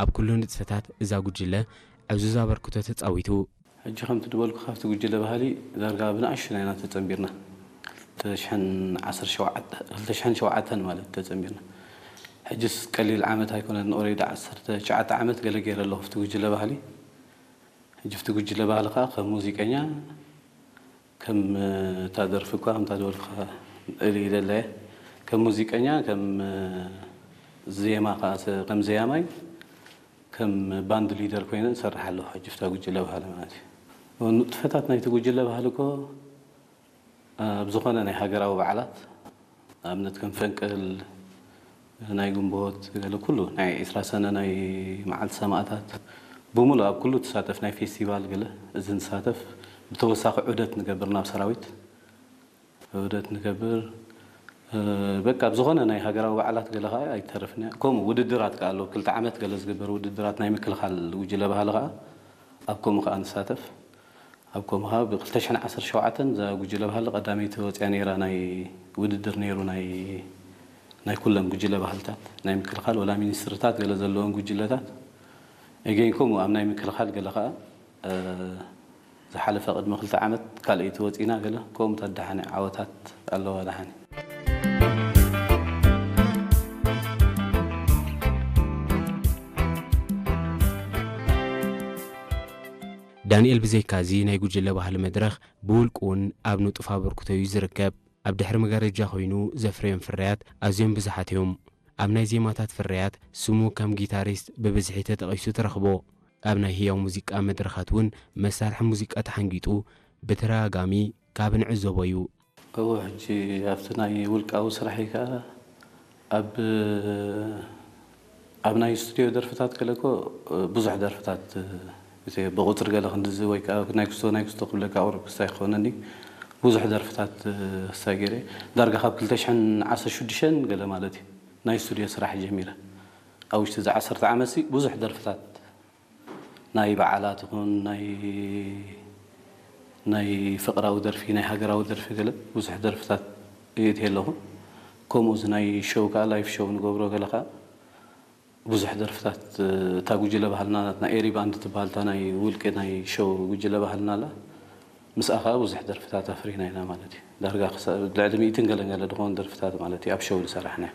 ኣብ ኩሉ ንጥፈታት እዛ ጉጅለ ዕዙዝ ኣበርክቶ ተጻዊቱ። ሕጂ ከምቲ ዝበልኩ ካብቲ ጉጅለ ባህሊ ዳርጋ ብንኣሽቱና ኢና ተጸንቢርና። ክልተ ሽሕን ሸውዓተን ማለት ተጸንቢርና። ሕጅስ ቀሊል ዓመት ኣይኮነን። ኦሬዲ ዓሰርተ ትሽዓተ ዓመት ገለ ገይረ ኣለኹ ኣብቲ ጉጅለ ባህሊ። ሕጂ ኣብቲ ጉጅለ ባህሊ ከዓ ከም ሙዚቀኛ ከም እታ ደርፊ እኳ ከምታ ዝበልኩኻ እልይ ኢለ ኣለየ። ከም ሙዚቀኛ ከም ዜማ ከዓ ከም ዘያማይ ከም ባንድ ሊደር ኮይነ እሰርሕ ኣለኹ ሕጂ ኣብታ ጉጅለ ባህሊ ማለት እዩ። ንጥፈታት ናይቲ ጉጅለ ባህሊ እኮ ኣብ ዝኾነ ናይ ሃገራዊ በዓላት ንኣብነት ከም ፈንቅል ናይ ግንቦት ገለ ኩሉ ናይ ዒስራ ሰነ ናይ መዓልቲ ሰማእታት ብምሉእ ኣብ ኩሉ ትሳተፍ ናይ ፌስቲቫል ገለ እዚ ንሳተፍ ብተወሳኺ ዑደት ንገብር ናብ ሰራዊት ዑደት ንገብር በቃ ኣብ ዝኾነ ናይ ሃገራዊ በዓላት ገለ ከዓ ኣይተርፍን እያ። ከምኡ ውድድራት ከዓ ኣሎ ክልተ ዓመት ገለ ዝግበር ውድድራት ናይ ምክልኻል ጉጅለ ባህሊ ከዓ ኣብ ከምኡ ከዓ ንሳተፍ ኣብ ከምኡ ከዓ ብ ክልተ ሽሕን ዓሰርተ ሸውዓተን እዛ ጉጅለ ባህሊ ቀዳመይቲ ወፅያ ነይራ ናይ ውድድር ነይሩ ናይ ናይ ኩለን ጉጅለ ባህልታት ናይ ምክልኻል ወላ ሚኒስትርታት ገለ ዘለዎም ጉጅለታት ኤገይን ከምኡ ኣብ ናይ ምክልኻል ገለ ከዓ ዝሓለፈ ቅድሚ ክልተ ዓመት ካልኣይቲ ወፂና ገለ ከምኡ ተደሓነ ዓወታት ኣለዋ ደሓነ። ዳንኤል ብዘይካዚ ናይ ጉጅለ ባህሊ መድረኽ ብውልቁ እውን ኣብ ንጡፍ ኣበርክቶ እዩ ዝርከብ። ኣብ ድሕሪ መጋረጃ ኮይኑ ዘፍረዮም ፍርያት ኣዝዮም ብዙሓት እዮም። ኣብ ናይ ዜማታት ፍርያት ስሙ ከም ጊታሪስት ብብዝሒ ተጠቒሱ ትረኽቦ። ኣብ ናይ ህያው ሙዚቃ መድረኻት እውን መሳርሒ ሙዚቃ ተሓንጊጡ ብተደጋጋሚ ካብ ንዕዘቦ እዩ። እወ ሕጂ ኣብቲ ናይ ውልቃዊ ስራሐይ ከዓ ኣብ ኣብ ናይ ስቱድዮ ደርፍታት ገለ እኮ ብዙሕ ደርፍታት እቲ ብቁፅሪ ገለ ክንድዚ ወይ ከዓ ናይ ክስቶ ናይ ክስቶ ክብለካ ቁሩብ ክስታይ ክኾነኒ ብዙሕ ደርፍታት ክስታይ ገይረ ዳርጋ ካብ ክልተ ሽሕን ዓሰርተ ሽዱሽተን ገለ ማለት እዩ ናይ ስቱድዮ ስራሕ ጀሚረ ኣብ ውሽጢ እዚ ዓሰርተ ዓመት ሲ ብዙሕ ደርፍታት ናይ በዓላት ይኹን ናይ ናይ ፍቅራዊ ደርፊ ናይ ሃገራዊ ደርፊ ገለ ብዙሕ ደርፍታት የእትየ ኣለኹ። ከምኡ እዚ ናይ ሾው ከዓ ላይፍ ሾው ንገብሮ ገለ ከዓ ብዙሕ ደርፍታት እታ ጉጅለ ባህልና ናትና ኤሪ ባንድ ትበሃል እታ ናይ ውልቂ ናይ ሾው ጉጅለ ባህልና ኣላ ምስኣ ከዓ ብዙሕ ደርፍታት ኣፍሪና ኢና ማለት እዩ። ዳርጋ ክሳብ ልዕሊ ሚእትን ገለን ገለ ዝኾኑ ደርፍታት ማለት እዩ ኣብ ሾው ዝሰራሕናዮ።